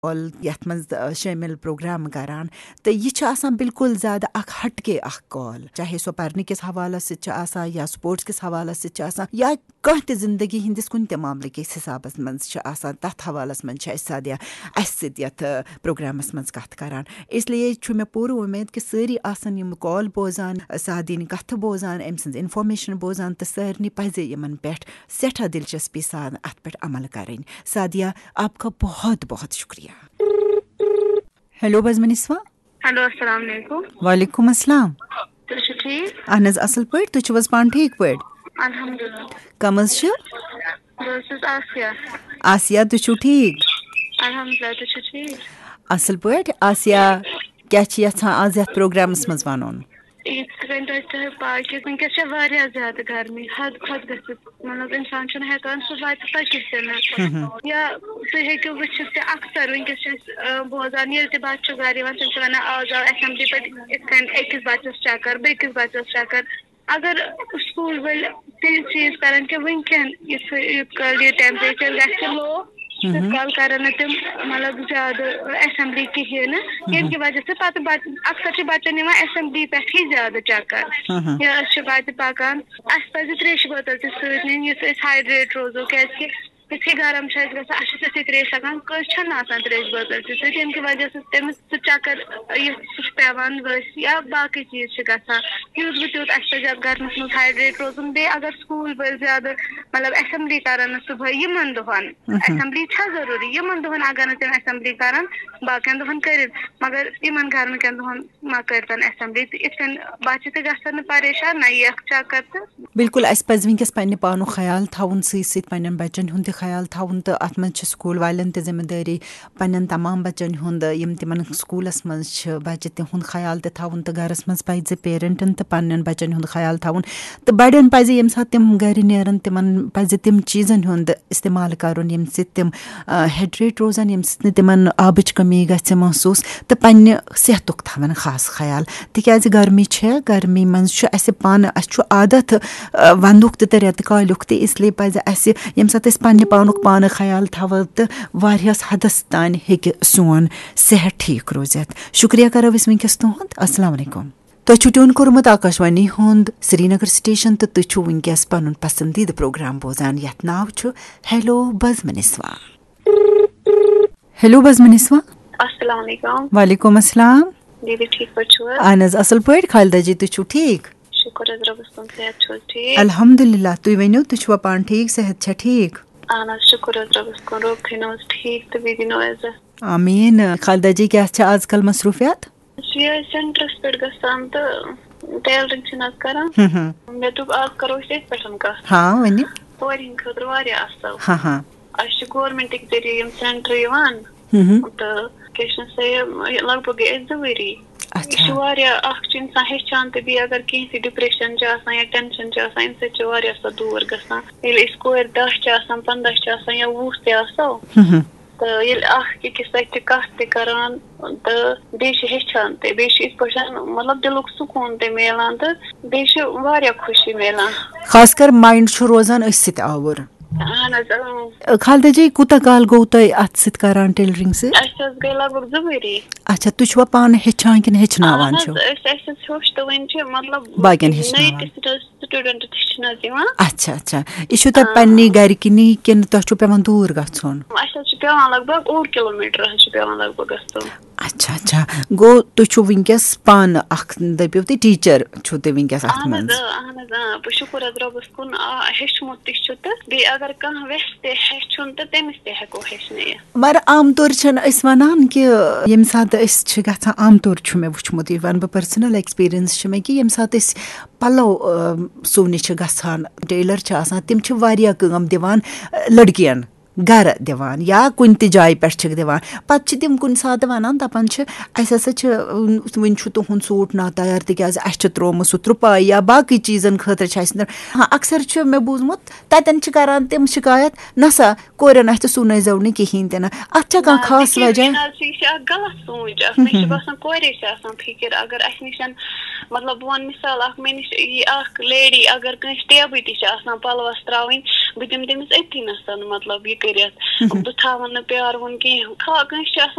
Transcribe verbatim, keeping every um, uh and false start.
کال یَتھ منٛز، آ، شٲمِل پروگرام کران۔ تہٕ یہِ چھِ آسان بالکل زیادٕ اکھ ہٹ کے اکھ کال، چاہے سۄ پرنہٕ کِس حوالس سۭتۍ چھِ آسان یا سپورٹس کِس حوالس سۭتۍ چھِ آسان یا کانٛہہ تہِ زندگی ہٕنٛدِس کُنہِ تہِ معاملہٕ کِس حسابس منٛز چھِ آسان، تتھ حوالس منٛز چھِ اَسہِ سادیا اَسہِ سۭتۍ یَتھ، آ، پروگرامس منٛز کتھ کران۔ اس لیے چھُ مےٚ پوٗرٕ وۄمید کہِ سٲری آسن یِم کال بوزان، سادیِنۍ کتھٕ بوزان، أمۍ سٕنٛز انفارمیشن بوزان تہٕ سارنٕے پزِ یِمن پٮ۪ٹھ سٮ۪ٹھاہ دلچسپی سان اتھ پٮ۪ٹھ عمل کرٕنۍ۔ سادیا، آپ کا بہت بہت شکریہ۔ ہیلو بزمنسوا۔ ہیلو، السلام علیکم۔ وعلیکم السلام۔ تُہۍ چھِو ٹھیٖک؟ اہن حظ، اصل پٲٹھۍ۔ تُہۍ چھِو حظ پانہٕ ٹھیٖک پٲٹھۍ؟ الحمدللہ۔ کم حظ چھِو؟ بہٕ حظ چھَس آسیا۔ آسیا، تُہۍ چھِو ٹھیٖک؟ الحمدللہ، تُہۍ چھِو ٹھیٖک؟ اصل پٲٹھۍ۔ آسیا، کیٛاہ چھِ یژھان آز یتھ پروگرامس منٛز ونُن؟ یِتھ کٔنۍ تۄہہِ تۄہہِ پاے کہِ وٕنکیٚس چھےٚ واریاہ زیادٕ گرمی، حد کھۄتہٕ گٔژھِتھ، مطلب، انسان چھُنہٕ ہٮ۪کان صُبحٲے تہِ پٔکِتھ تہِ نہٕ۔ مہم۔ یا تُہۍ ہیٚکِو وٕچھِتھ تہِ اکثر وٕنکیٚس چھِ أسۍ، آ، بوزان، ییٚلہِ تہِ بچہٕ چھُ گرٕ یِوان، تِم چھِ ونان، "آز آو اسمبلی پٮ۪ٹھ یِتھ کٔنۍ أکِس بچس چکر، بیٚکِس بچس چکر۔" اگر سکول وٲلۍ تیٚلہِ چیٖز کرن کہِ وٕنکیٚن یُس یہِ، یوٗت کال یہِ temperature گژھِ low، تیوٗت کال کرن نہٕ تِم، مطلب، زیادٕ اسمبلی کِہیٖنۍ نہٕ، ییٚمہِ کہِ وجہ سۭتۍ پتہٕ بچ-، اکثر چھِ بچن یِوان اسمبلی پٮ۪ٹھٕے زیادٕ چکر۔ یا أسۍ چھِ وتہِ پکان، اسہِ پزِ تریشہِ بٲتل تہِ سۭتۍ نِنۍ، یُتھ أسۍ hydrate روزو، کیازِ کہِ یُتھُے گرم چھُ اَسہِ گژھان، اَسہِ چھِ تِتھٕے ترٛیش لگان۔ کٲنٛسہِ چھَنہٕ آسان ترٛیش بٲتل تہِ سۭتۍ، ییٚمہِ کہِ وجہ سۭتۍ تٔمِس سُہ چکر یُتھ سُہ چھُ پٮ۪وان ؤسۍ یا باقٕے چیٖز چھِ گژھان۔ یوٗت بہٕ تیوٗت اَسہِ پَزِ اَتھ گرمَس منٛز hydrate روزُن۔ بیٚیہِ اگر سکوٗل وٲلۍ زیادٕ، مطلب، assembly کَرَن نہٕ صُبحٲے یِمَن دۄہَن، assembly چھےٚ ضروٗری، یِمَن دۄہَن اگر نہٕ تِم assembly کَرَن، باقیَن دۄہَن کٔرِتھ، مگر یِمَن گرمہٕ کٮ۪ن دۄہَن ما کٔرۍتَن assembly۔ تہٕ یِتھ کٔنۍ بَچہٕ تہِ گژھن نہٕ پریشان، نہ یِیَکھ چکر تہٕ۔ بالکل، اَسہِ پَزِ وٕنکیٚس پننہِ پانُک خیال تھاوُن، سۭتۍ سۭتۍ پننٮ۪ن بَچَن ہُنٛد تہِ خیال تھاوُن، تہٕ اَتھ منٛز چھِ سکوٗل والٮ۪ن تہِ ذمہٕ دٲری، پننٮ۪ن تمام بَچَن ہُنٛد، یِم تِمَن سکوٗلَس منٛز چھِ بَچہٕ، تِہُنٛد خیال تہِ تھاوُن، تہٕ گَرَس منٛز پَزِ parentن تہٕ پننٮ۪ن بَچَن ہُنٛد خیال تھاوُن۔ تہٕ بَڑٮ۪ن پَزِ، ییٚمہِ ساتہٕ تِم گَرِ نیرَن، تِمَن پَزِ تِم چیٖزَن ہُنٛد استعمال کَرُن، ییٚمہِ سۭتۍ تِم، آ، hydrate روزَن، ییٚمہِ سۭتۍ نہٕ تِمَن آبٕچ کٔمی گژھِ محسوٗس، تہٕ پننہِ صحتُک تھاوَن خاص خیال۔ تِکیٛازِ گرمی چھےٚ، گرمی منٛز چھُ اَسہِ پانہٕ، اَسہِ چھُ عادت، آ، وَندُک تہِ تہٕ رٮ۪تہٕ کالیُک تہِ، اس لیے پَزِ اَسہِ، ییٚمہِ ساتہٕ أسۍ پننہِ پانُک پانہٕ خیال تھاوو تہٕ واریاہَس حدس تانۍ ہیٚکہِ سون صحت ٹھیٖک روٗزِتھ۔ شُکریہ کَرو أسۍ وٕنکیٚس تُہُنٛد۔ السلام علیکم۔ تۄہہِ چھُو tune کوٚرمُت آکاشوانی ہُنٛد سرینگر station تہٕ تُہۍ چھِو وٕنکیٚس پنُن پسندیدٕ پروگرام بوزان، یتھ ناو چھُ ہیلو بزمنسوا۔ ہیلو بزمنسوا۔ السلام علیکم۔ وعلیکم السلام۔ دیدی، ٹھیٖک پٲٹھۍ چھِو حظ؟ اہن حظ، اصل پٲٹھۍ۔ خالدہ جی، تُہۍ چھِو ٹھیٖک؟ شُکُر حظ رۄبَس کُن، صحت چھُو حظ ٹھیٖک؟ الحمدللہ، تُہۍ ؤنِو، تُہۍ چھِوا پانہٕ ٹھیٖک؟ صحت چھا ٹھیٖک؟ اہن حظ، شُکُر حظ رۄبَس کُن، رۄب تھٲینو حظ ٹھیٖک تہٕ بیٚیہِ دِنو عزت۔ آمیٖن۔ خالدہ جی، کیٛاہ چھِ آز کل مصروٗفیات؟ أسۍ چھِ یِہوٚے centreس پٮ۪ٹھ گژھان تہٕ tailoring چھِنہٕ حظ کران۔ ہم ہم۔ مےٚ دوٚپ، آز کرو أسۍ أتھۍ پٮ۪ٹھ کَتھ۔ ہاں، ؤنِو۔ کورِ ہِنٛدِ خٲطرٕ واریاہ اَصٕل۔ ہاں ہاں۔ اَسہِ چھِ governmentٕکۍ ذٔریعہٕ یِم centre یِوان۔ ہم ہم۔ تہٕ کیٛاہ چھِ سا یہِ، یہِ لگ بگ گٔے اَسہِ زٕ ؤری۔ اچھا۔ یہِ چھُ واریاہ، اَکھ چھُ اِنسان ہیٚچھان تہٕ بیٚیہِ اگر کینٛہہ تہِ depression چھُ آسان یا tension چھُ آسان، اَمہِ سۭتۍ چھُ واریاہ سۄ دوٗر گژھان۔ ییٚلہِ أسۍ کورِ دَہ چھِ آسان، پنٛداہ چھِ آسان یا وُہ تہِ آسو، ہم ہم۔ تہٕ ییٚلہِ اکھ أکِس سۭتۍ چھِ کتھ تہِ کران تہٕ بیٚیہِ چھِ ہیٚچھان تہِ، بیٚیہِ چھِ یِتھ پٲٹھۍ، مطلب، دِلُک سکوٗن تہِ میلان تہٕ بیٚیہِ چھِ واریاہ خوشی میلان۔ خاص کر mind چھُ روزان أتھۍ سۭتۍ آوُر۔ اہن حظ، اۭں۔ خالدہ جی، کوٗتاہ کال گوٚو تۄہہِ اتھ سۭتۍ کران، tailoring سۭتۍ؟ اَسہِ حظ گٔے لگ بگ زٕ ؤری۔ اچھا، تُہۍ چھِوا پانہٕ ہیٚچھان کِنہٕ ہیٚچھناوان اہن حظ، چھِو؟ أسۍ، اَسہِ حظ ہیوٚچھ تہٕ وۄنۍ چھِ، مطلب، باقین نٔے ہیٚچھناوان۔ تہِ students تہِ چھِنہٕ حظ یِوان۔ اچھا، اچھا۔ یہِ چھُو تۄہہِ آ۔ پننی گرِ کِنی کِنہٕ تۄہہِ چھُو پٮ۪وان دوٗر گژھُن؟ اَسہِ حظ چھُ پٮ۪وان لگ بگ اوٚڑ کِلوٗ میٖٹر حظ چھُ پٮ۪وان لگ بگ گژھُن۔ اچھا، اچھا۔ گوٚو تُہۍ چھِو وٕنکیٚس پانہٕ اکھ، دٔپِو تُہۍ teacher چھِو تُہۍ وٕنکیٚس اتھ اہن حظ، منٛز؟ آ، اہن حظ، آ۔ بہٕ شُکُر حظ رۄبَس کُن، آ، ہیوٚچھمُت تہِ چھُ تہٕ بیٚیہِ اگر کانٛہہ وٮ۪ژھِ تہِ ہیٚچھُن تہٕ تٔمِس تہِ ہٮ۪کو ہیٚچھنٲیِتھ۔ مگر عام طور چھِنہٕ أسۍ وَنان کہِ ییٚمہِ ساتہٕ أسۍ چھِ گژھان، عام طور چھُ مےٚ وٕچھمُت، یہِ وَنہٕ بہٕ، personal experience چھِ مےٚ کہِ ییٚمہِ ساتہٕ أسۍ پَلو، آ، سُونہِ چھِ گژھان، tailor چھِ آسان، تِم چھِ واریاہ کٲم دِوان، آ، لٔڑکِیَن گَرٕ دِوان یا کُنہِ تہِ جایہِ پٮ۪ٹھ چھِکھ دِوان۔ پَتہٕ چھِ تِم کُنہِ ساتہٕ وَنان، دَپان چھِ، "اَسہِ ہسا چھِ، آ، وٕنہِ چھُ تُہُنٛد suit ناتیار، تِکیٛازِ اَسہِ چھِ ترٛوومُت سُہ ترٛپاے یا باقٕے چیٖزَن خٲطرٕ چھِ اَسہِ۔" ہاں، اکثر چھُ مےٚ بوٗزمُت، تَتٮ۪ن چھِ کَران تِم شِکایت، "نہ سا، کورٮ۪ن اَتھِ سُونٲے زیو نہٕ کِہیٖنۍ تہِ نہٕ۔" اَتھ چھا کانٛہہ نہ، خاص تِکیٛازِ وجہ؟ یہِ نہ حظ چھِ، یہِ چھِ اَکھ غلط سونٛچ اَکھ۔ مےٚ چھِ باسان، کورے چھِ آسان فِکِر، اگر اَسہِ نِش، مطلب، بہٕ وَنہٕ مِثال اَکھ، مےٚ نِش یی اَکھ lady، اگر کٲنٛسہِ ٹیبٕے تہِ چھِ آسان پَلوَس ترٛاوٕنۍ، بہٕ دِمہٕ تٔمِس أتھی نَسَن، مطلب، یہِ کٔرِتھ، بہٕ تھاوَن نہٕ پیٛارٕ وُن کینٛہہ، کھا کٲنٛسہِ چھِ آسان